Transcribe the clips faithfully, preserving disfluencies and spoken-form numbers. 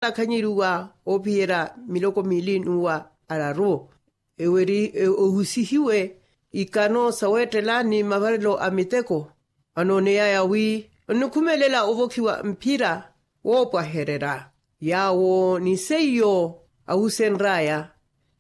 akhanyeriwa oophiyerya miloko miili n'uwa araru. Ewo eri ohusihiwe ikano saweettela ni mavarelo a miteko. Anooneyaya wi onnikhumelela ovokhiwa mphira woopwahererya yaawo ni seiyo ahusenry'aya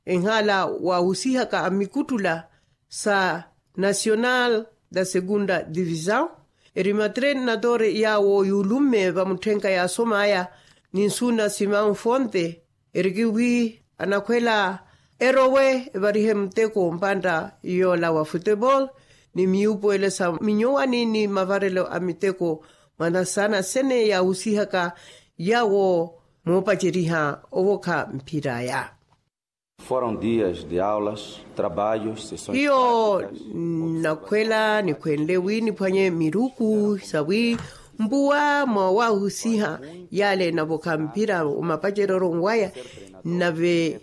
enhaala wahusihaka a mikuttula sa nacional da segunda divisão. Eri matrenatore yaawo yuulumme vamutthenka yaasom'aya ni nsuuna simão fonte. Eriki wi anakhwela erowe evarihe muteko mpantta yoola wa futebol ni miyuupuwele sa minyowani ni mavarelo a miteko mwanasana sene yaahusihaka yaawo moopaceriha ovokha mphir'aya. Foram dias de aulas, trabalhos, sessões hiyo práticas. Nnakhwela nikhwenle wi niphwanye miruku sawi mpuwa mwa wahusiha yale enavokha mphira omapaceryo waya. Nave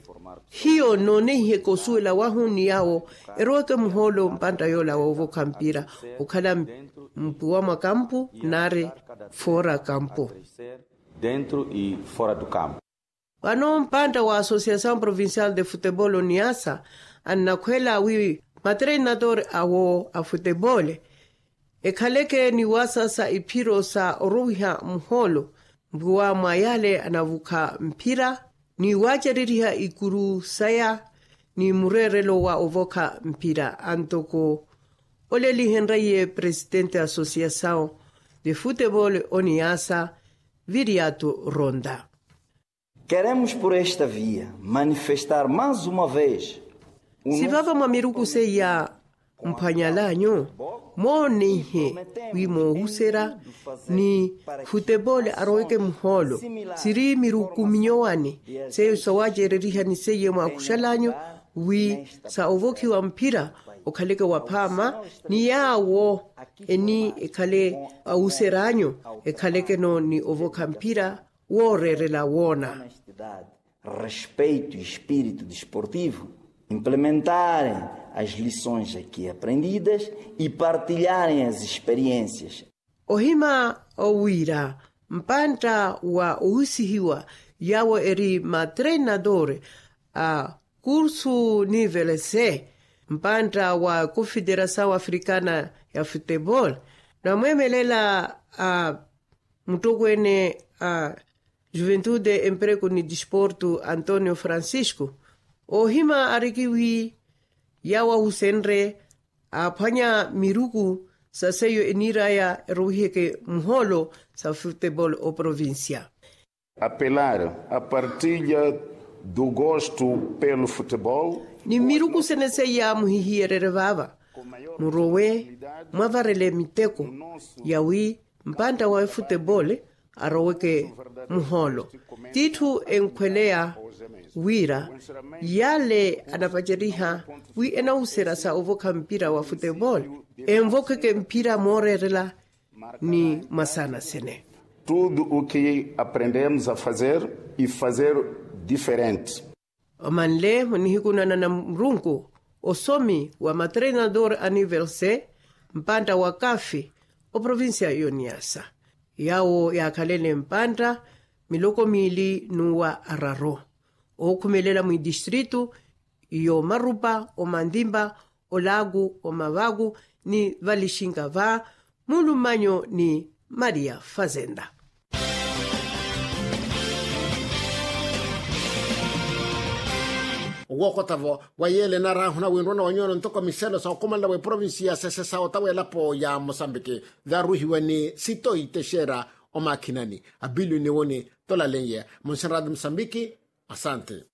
hiyo nnoonehiheke osuwela wahu ni yaawo eroweke muhoolo mpantta yoola woovokha mphira okhala mpuwa mwa kampu nari fora kampu. Dentro e fora do campo. Vano mpantta wa associação provincial de futebol oniasa annakhwela wi matrenatore awo a futebol ekhaleke ni waasasa iphiro sa orowiha muhoolo mpuwa mwa yale anavukha mphira ni waacereriha ikuru saya ni mureerelo wa ovokha mphira antoko olelihenraiye presidente associação de futebol oniasa viriato ronda. Queremos por esta via manifestar mais uma vez sivava mwa miruku seiya mphwanyalanyu mooneihe wi moohuserya ni futebol aroweke muhoolo siri miruku minyowani seiyo sawaacererihani seiye mwaakuxalanyu wi sa ovokhiwa mphira okhaleke waphaama ni yaawo eni ekhale awuseranyu ekhalekeno ni ovokha mphira wooreerela woona. Respeito e espírito desportivo implementarem as lições aqui aprendidas e partilharem as experiências. Ohima owiira mpantta wa ohusihiwa yaawo eri matrenador a kursu nivelese mpantta wa confederação africana ya futebol namweemelela a muttokweene a juventude emprego ni disporto antonio francisco ohima arikiwi yaawo ahusenre aaphwanya miruku sa seiyo eniir'aya erowiheke muhoolo sa futebol oprovincia. Apelar a partilla do gosto pelo futebol. Ni mmiruku sene seiya muhihiyererye vaava murowe mwavarele miteko yawi mpantta wa efutebol aroweke muhoolo t'itthu enkhweleya wira yale anapaceriha wi enawuserya sa ovokha mpira wa futebol envokheke mpira mooreerela ni mwasaana sene. Tudo o que aprendemos a fazer e fazer diferente. Omanle munihikunana na murunku osomi wa matrenador anivelse mpantta wa kafi oprovincia yoniasa yaawo yaakhalele mpantta miloko miili n'uwa araru ookhumelela mwidistritu y'omarupa omandimba olaaku omavaku ni valixinka va mulumanyo ni maria fazenda. Owookota-vo wa yeele enarahuna winrwana wa nyuwano ntoko miselo sa okhumanela w'eprovinsi ya sese sa ota w'elapo ya mosambiki varuhiwa ni sitoyi texera omakhinani abilio ni woni tolalenye munsenradi mosambiki. Asante.